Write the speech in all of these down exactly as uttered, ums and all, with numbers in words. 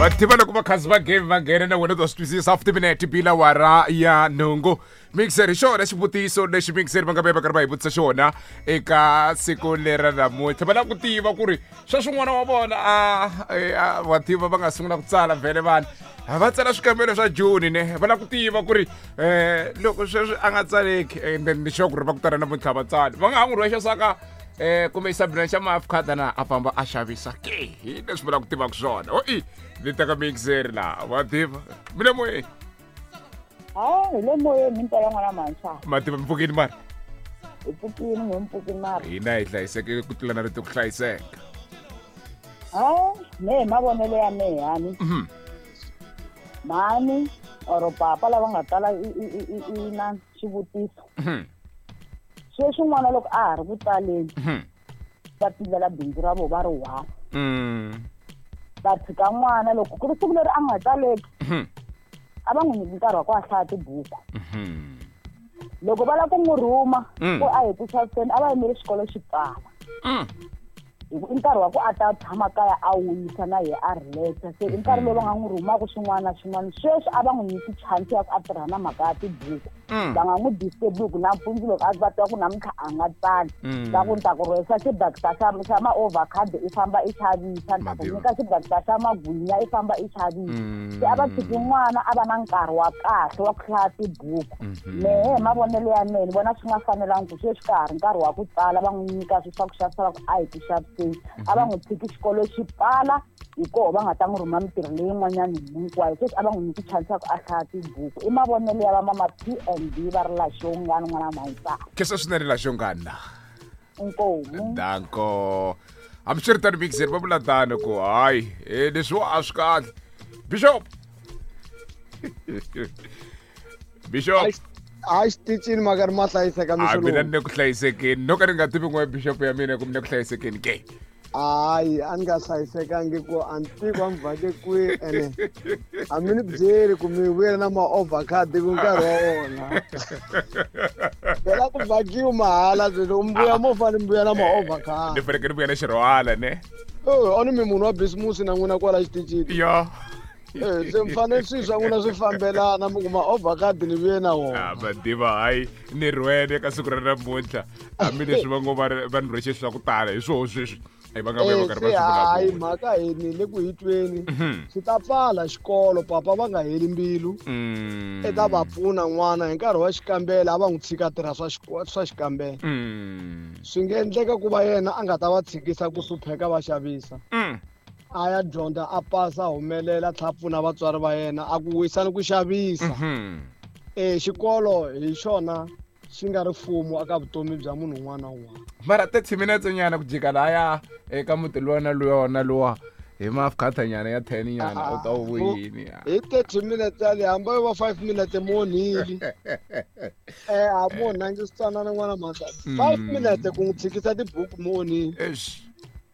Va tiva loko vakhazi va game va nghena na wena u ta swi twisisa fifty minute bila wara ya nhungu. Mixer hi xona xivutiso lexi mixer va nga ve va karhi va hi vutisa xona eka siku lera namuntlha. Va lava ku tiva ku ri sweswi n'wana wa vona a wa tiva va nga sungula ku tsala vhele vanhu va tsala swikambelo swa June ne va lava ku tiva ku ri um loko sweswi a nga tsaleki and then ni sure ku ri va ku tala namuntlha va tsali va nga ha n'wi rhwexa saka eh kumbe xisabina xa maafkhada na a famba a xavisa ke hi leswi va lava ku tivaka swona. O i ni teka mixer laha wa tiva mi le moyeni. Ha hi le moyeni mi ntela n'wana mantshwa. Ma tiva mi pfukini mara? Hi pfukini n'we mi pfukini mara. Hina hi hlayiseke ku tlula na rito ku hlayiseka. Ha me hi mavonelo ya mehe hani. Mhani or papa lava nga tala i i i na xivutiso. Sweswi n'wana loko a ha ri ku tsaleni va tindlela bindzu ra vona va ri one. Va tshika n'wana loko ku ri siku leri a nga tsaleki a va n'wi nyiki nkarhi wa ku a hlaya tibuku. Loko va lava ku n'wi rhuma ku a hi ku xaviseni a va yimeli xikolo xi pfala. Hi ku i nkarhi wa ku a ta tshama kaya a wisa na yehe a relaxa. Se i nkarhi lowu va nga n'wi rhumaka xin'wana na xin'wana. Sweswi a va n'wi nyiki chance ya ku a tirha na mhaka ya tibuku. Va nga n'wi disturb hi ku nampundzu loko a va twa ku namuntlha a nga tsali va ku ni ta ku rhwesa xibakita xa xa ma-overcard i famba i xavisa, ni ta ku nyika xibakita xa magwinya i famba i xavisa. Se a va tshiki n'wana a va na nkarhi wa kahle wa ku hlaya tibuku. Mehe hi mavonelo ya mehe ni vona swi nga fanelangi ku sweswi ka ha ri nkarhi wa ku tsala va n'wi nyika swilo swa ku xavisa va ku a hi ku xaviseni. A va n'wi tshiki xikolo xi pfala hi koho va nga ta n'wi rhuma mintirho leyin'wanyana hinkwayo. Sweswi a va n'wi nyiki chance ya ku a hlaya tibuku. I mavonelo ya va mama P and B va ri laxongani n'wana mhayisa. Kesa swinene laxongani la. Inkomu. Danko. Hambiswiritano mixer va vula tano ku hayi leswiwa a swi kahle. Bishop. Bishop. A xitichini ma karhi ma hlayiseka mixo lowu. A mina ni le ku hlayisekeni no ka ni nga tivi n'we bishop ya mina ku mi le ku hlayisekeni ke. Hayi a ni nga hlayisekangi ku a ni tivi a mi vhake kwihi ene a mi ni byeli ku mi vuyela na ma-overcard ku nkarhi wa wona. Phela ku vhakiwi mahala sweswi loko mi vuya mo fanele mi vuya na ma-overcard. Ni fanekele ni vuya na xirhwala ne. A ni mi munhu wa bisimusi na n'wina kwala xitichini. Yo. Eh se mi fanele swilo swa n'wina swi fambelana mi kuma overcard ni vuye na wona. A va tiva hayi ni rhwele ka siku ra namuntlha hambileswi va ngo va va ni rhwexe swa ku tala hi swoho sweswi. Ai va nga vuya va karhi va swi vulavula. Hayi mhaka hi ni le ku hi tweni swi ta pfala xikolo papa va nga heli mbilu. I ta va pfuna n'wana hi nkarhi wa xikambelo a va n'wi tshika tirha swa swa xikambelo. Swi nga endleka ku va yena a nga ta va tshikisa ku hlupheka va xavisa. A ya dyondza a pasa a humelela tlhela pfuna vatswari va yena a ku wisani ku xavisa. Eh xikolo hi xona xi nga ri mfumo aka vutomi bya munhu un'wana na un'wana. Mara thirty minutes nyana ku jika laya eka muti luwa na luwa na luwa hi mafkhata nyana ya ten nyana u ta wu vuyini. Hi thirty minutes yale hamba yo va five minutes mi onhile. Eh a mu onhangi switsanana n'wana mhaka. five minutes ku n'wi tshikisa tibuku mi onhile. Eish.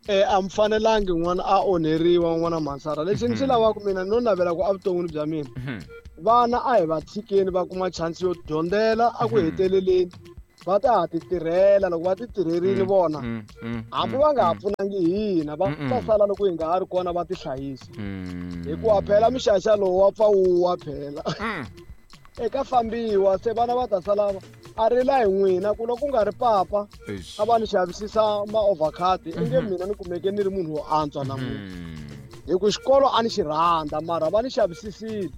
Eh a mi fanelangi n'wana a onheriwa n'wana mhansara. Lexi ni xi lavaka mina no navela ku evuton'wini bya mina. Vana a hi va tshikeni va kuma chance yo dyondzela a ku heteleleni va ta ha ti tirhela loko va ti tirherile vona hambi va nga ha pfunangi hina va ta sala loko hi nga ha ri kona va ti hlayisa. Hikuva phela mixaxa lowu wa pfa wu wa phela. Eka fambiwa se vana va ta sala a rila hi n'wina ku loko ku nga ri papa a va ni xavisisa ma-overcard i nge mina ni kumeke ni ri munhu wo antswa namuntlha. Hi ku xikolo a ni xi rhandza mara va ni xavisisile.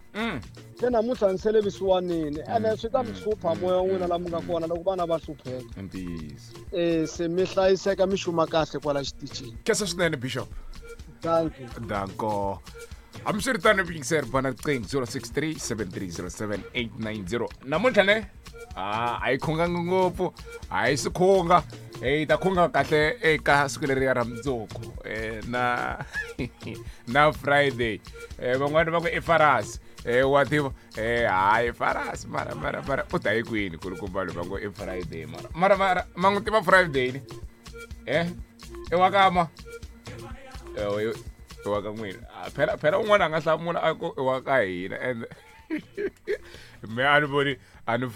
Se namuntlha ni sele visiwanini ene swi ta mi hlupha moya wa n'wina laha mi nga kona loko vana va hlupheka. Ntiyiso. Eh se mi hlayiseka mi xuma kahle kwala xitichini. Kesa swinene Bishop. Thank you. Danko. Hambiswiritano mixer bana riqingho zero six three seven three zero seven eight nine zero. Namuntlha ne a a yi khunganga ngopfu a yi swi khunga hi ta khunga kahle eka siku leri ra mundzuku na na Friday. Van'wani va ku i Farasi wa tiva hayi Farasi mara mara mara u ta yi kwini kulukumba va ngo i Friday mara mara mara ma n'wi tiva Friday ni eh i wa ka ma i wa ka n'wina phela phela un'wana a nga hlamula a ku i wa ka hina and me a ni voni a ni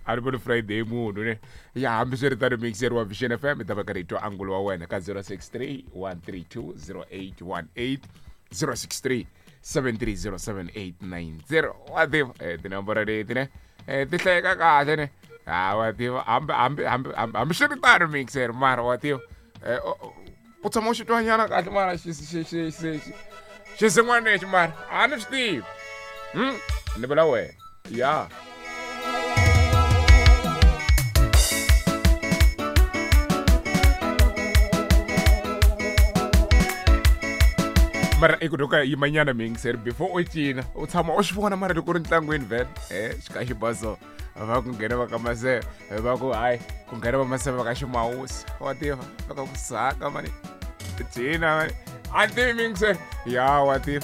a ni voni Friday munhu ne ya hambiswiritano mixer wa Vision F M i ta va karhi hi twa angulo wa wena ka zero six three one three two zero eight one eight zero six three seven three zero seven eight nine zero wa tiva eh, tinomboro leti ne eh, ti hlayeka kahle ne ha wa tiva hambi hambi hambi hambi swi ri tano mixer mara wa tiva eh, u tshama u xi twanyana kahle mara xi xi xi xi xin'wana lexi mara a ni swi tivi hmm ni vula wena ya mara i ku doka yimanyana mixer before u cina u tshama u swi vona mara loko u ri ntlangwini vhele eh xi ka xibaso va ku nghena va ka maseve va ku hayi ku nghena va maseve va ka ximawusi wa tiva va ka ku saka mani cina mani a ni tivi mixer ya wa tiva.